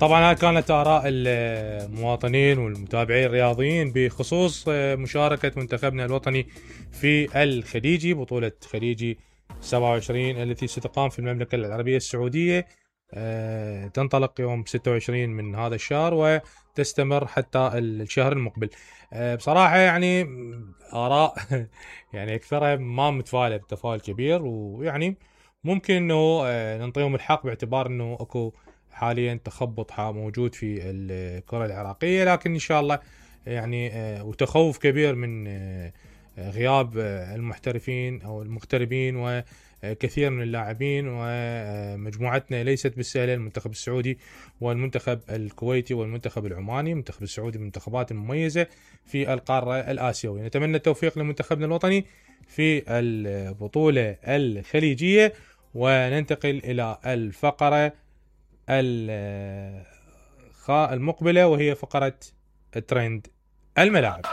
طبعا هاي كانت آراء المواطنين والمتابعين الرياضيين بخصوص مشاركة منتخبنا الوطني في الخليجي، بطولة خليجي 27 التي ستقام في المملكة العربية السعودية. تنطلق يوم 26 من هذا الشهر وتستمر حتى الشهر المقبل. بصراحة يعني آراء يعني أكثرها ما متفائلة بتفاؤل كبير، ويعني ممكن إنه ننطيهم الحق باعتبار إنه أكو حاليا تخبط موجود في الكرة العراقية، لكن إن شاء الله يعني وتخوف كبير من غياب المحترفين أو المغتربين وكثير من اللاعبين، ومجموعتنا ليست بالسهلة. المنتخب السعودي والمنتخب الكويتي والمنتخب العماني، المنتخب السعودي منتخبات مميزة في القارة الآسيوية. نتمنى التوفيق لمنتخبنا الوطني في البطولة الخليجية. وننتقل إلى الفقرة المقبلة وهي فقرة ترند الملاعب.